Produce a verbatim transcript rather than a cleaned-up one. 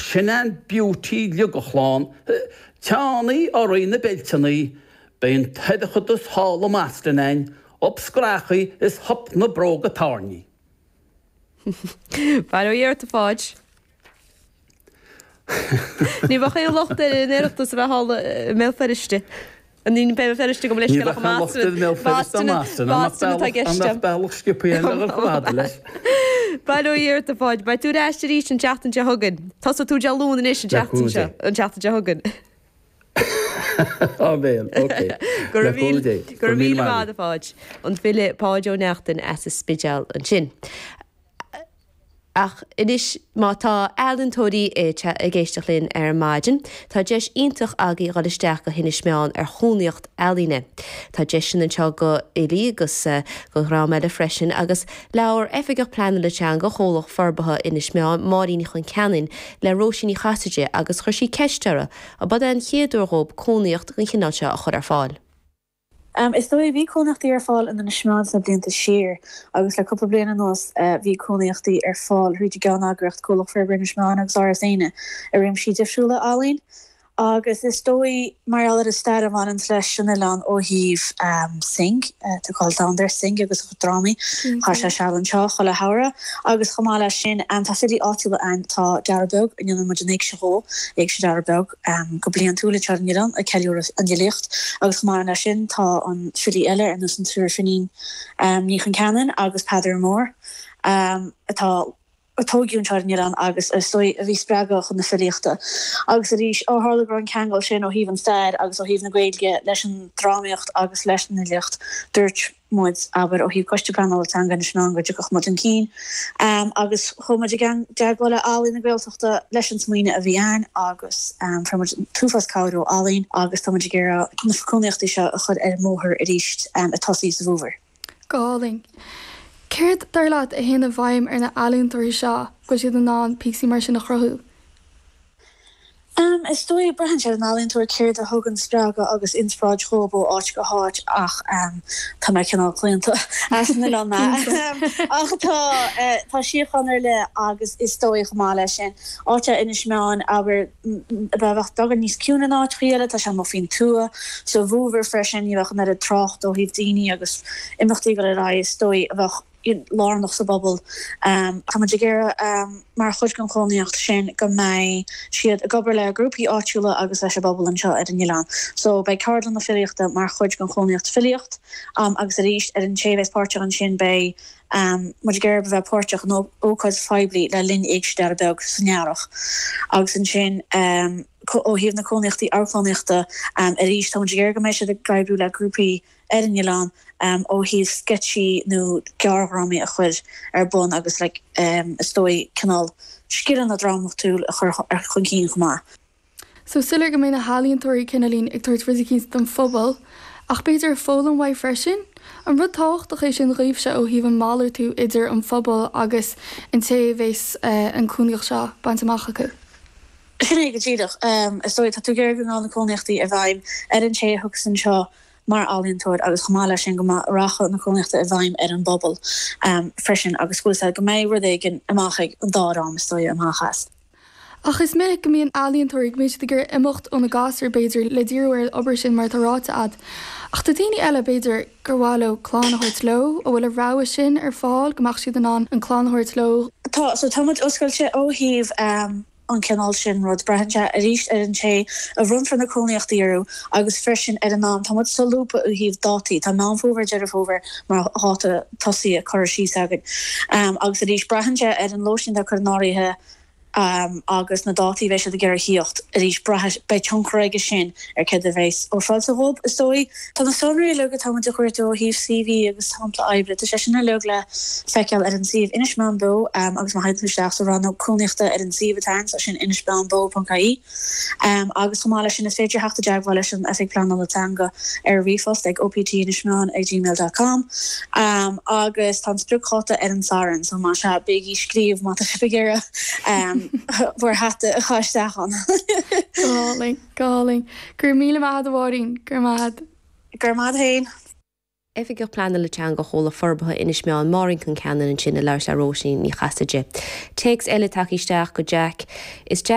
sin an beauty liugachlán, teannaí orainn na beilteannaí, beidh an toircheadas thall i mBoston a'inn, up screachaí is hup na bróga tairní. Bail ó Dhia ort a Pháid. Ní bheadh aon locht ar an Oireachtas a bheith thall i mBéal Feirste. Ní Béal Feirste go Ní bheadh aon locht ar Bhéal Feirste i mBoston, an mbeadh bealach sciobtha eile a dhul chomh fada leis? Bail ó Dhia ort a Pháid, beidh tú ar ais arís an tseachtain seo chugainn. Tosóidh tú Dé Luain anois an tseachtain seo, an tseachtain seo chugainn. Áiméan, ok. Go raibh míle, go raibh míle maith agat a Pháid. An file Páid Ó Neachtain as an Spidéal ansin. Ach anois má tá ealaíontóirí ag éisteacht linn ar maidin, tá deis iontach agaibh dhul isteach go hInis Meáin ar chónaíocht ealaíne. Tá deiseanna anseo go fhilí agus go dhream eile freisin agus labhair Oifigeach Pleanála Teanga Chomhlacht Forbartha Inis Meáin, Máirín Ní Chonceanainn, le Róisín Ní Chasaide agus chuir sí ceist uirthi an b'é an chéad uair dhóibh cónaíocht den chineál seo a chur ar fáil. Is dóigh, bhí cónaíochtaí ar fáil in Inis Meáin sna blianta siar agus le cúpla bliain anuas bhí cónaíochtaí ar fáil thríd an gceanneagraíocht Comhlacht Forbartha Inis Meáin agus Áras Éanna i réimsí difriúla ealaíon. Agus is dóigh, mar gheall ar an stair a bhaineanns leis an oileán ó thaobh Synge, tá cáil domhanda ar Synge agus a chuid drámaí, chaith sé seal anseo chuile shamhradh. Agus chomh maith leis sin, tá filí áitiúla ann, tá Dara Beag, a ndéanann muid an éigse dhó, Éigse Dara Beag, go bliantúil anseo ar an oileán ag ceiliúradh an fhilíocht. Agus chomh maith leis sin, tá an filí eile ar nós an tSiúr Finín Ní Chonceanainn agus Peadar Mór atá, a tógadh anseo ar an oileán agus is dóigh a bhí spreagtha chun na filíochta. Agus arís, ó tharla go raibh an ceangal sin ó thaobh an stair agus ó thaobh na Gaeilge leis an drámaíocht agus leis an fhilíocht, dúirt muid, abair, ó thaobh Coiste Pleanála Teanga Inis Meáin go dtiocfadh muid chun cinn. Agus chuaigh muid i dteagmháil le Ealaín na Gaeltachta leis an smaoineamh a bhí ann agus fuair muid an t-uafás cabhair ó Ealaín agus tá muid ag iarraidh na cónaíochtaí seo a chur ar an mbóthar arís ag tosaí sa bhfómhar. Go hálainn. Céard, dar leat, a théann i bhfeidhm ar na healaíontóirí seo go bhfuil siad in ann píosaí mar sin a chruthú? Em, is dóigh, braitheann sé ar an ealaíontóir céard a thugann spreagadh agus inspioráid dhóibh ó áit go háit ach em tá mé cineál claonta as an oileán mé. Ach tá eh tá síocháin ar leith agus is dóigh chomh maith leis sin, áit é Inis Meáin, abair, bheadh beagán níos ciúine ná áiteachaí eile, tá sé amuigh faoin tuath, sa bhfómhar freisin, ní bheadh an oiread trácht ó thaobh daoine agus imeachtaí ag dul ar aghaidh, is dóigh, a bheadh lárnach sa bpobal. Tá muid ag iarraidh, mar chuid den chónaíocht sin, go mbeidh siad ag obair le grúpaí áitiúla agus leis an bpobal anseo ar an oileán. So, beidh ceardlanna filíochta mar chuid den chónaíocht filíocht agus arís, ar an té a bheas páirteach ansin, beidh muid ag iarraidh a bheith páirteach in ócáid phoiblí le linn Éigse Dara Beag san earrach agus ansin ó thaobh na cónaíochtaí amharclannaíochta arís tá muid ag iarraidh go mbeidh siad ag oibriú le grúpaí ar an oileán ó thaobh sceitsí nó gearrdhrámaí a chur ar bun agus like is dóigh cineál scileanna drámatúil a chur chun cinn chomh maith. So is soiléir go mbeidh na healaíontóirí cineáilín ag tabhairt rud eicínt don phobal, ach b'fhéidir ag foghlaim uaidh freisin? An rud tábhachtach é sin dhaoibhse ó thaobh an malartú idir an phobal agus an té a bheas an cónaíocht seo bainte amach acu? Sin é go díreach. Is dóigh, tá tú ag iarraidh go ngabhann na cónaíochtaí i bhfeidhm ar an té a thiocfas anseo mar ealaíontóir agus chomh maith leis sin go rachaidh na cónaíochtaí i bhfeidhm ar an bpobal freisin agus go bhfuil go mbeidh rud éigin amach ag an dá dhream is dóigh amach as. Ach is minic go mbíonn ealaíontóirí, go mbíonn siad ag iarraidh imeacht óna gasúir, b'fhéidir, le díriú ar an obair sin mar atá ráite a'd. Ach do dhaoine eile, b'fhéidir, gur mhaith leo clann a thabhairt leo, an bhfuil an rogha sin ar fáil, go mbeadh siad in ann an clann a thabhairt leo? Tá, so tá muid oscailte ó thaobh an cineál sin rud. Braitheann sé arís ar an té a bhronnfar na cónaíochtaí orthu agus freisin ar an am. Tá muid solúbtha ó thaobh dátaí. Tá Meán Fómhair, Deireadh Fómhair mar dháta tosaithe curtha síos againn. Agus arís, braitheann sé ar an lóistín atá curtha in áirithe, agus na dátaí a bheidh siad ag iarraidh thíocht arís, braithfidh, beidh tionchar aige sin ar céard a bheas ofráilte dhóibh, is dóigh. Tá na sonraí uilig atá muid a chuartú ó thaobh CV agus sampla oibre, tá sé sin uilig le feiceáil ar an suíomh Inis Meáin Beo agus má théann tú isteach sa rannóg cónaíochta ar an suíomh atá ann, sin inismeánbeo.ie. Agus chomh maith leis sin is féidir theacht i dteagmháil leis an Oifig Pleanála Teanga ar ríomhphost ag optinismeán ag gmail dot com agus tá an spriocdháta ar an Satharn so más ea bígí ag scríobh má tá sibh ag iarraidh bhur hata a chur isteach ann. Go hálainn, go hálainn. Go raibh míle maith agat a Mháirín, go raibh maith agat. Go raibh maith agat féin. Oifigeach Pleanála Teanga Chomhlacht Forbartha Inis Meáin, Máirín Concannon ansin ag labhairt le Róisín Ní Chasaide. Téacs eile tagtha isteach go Jack. Is deas.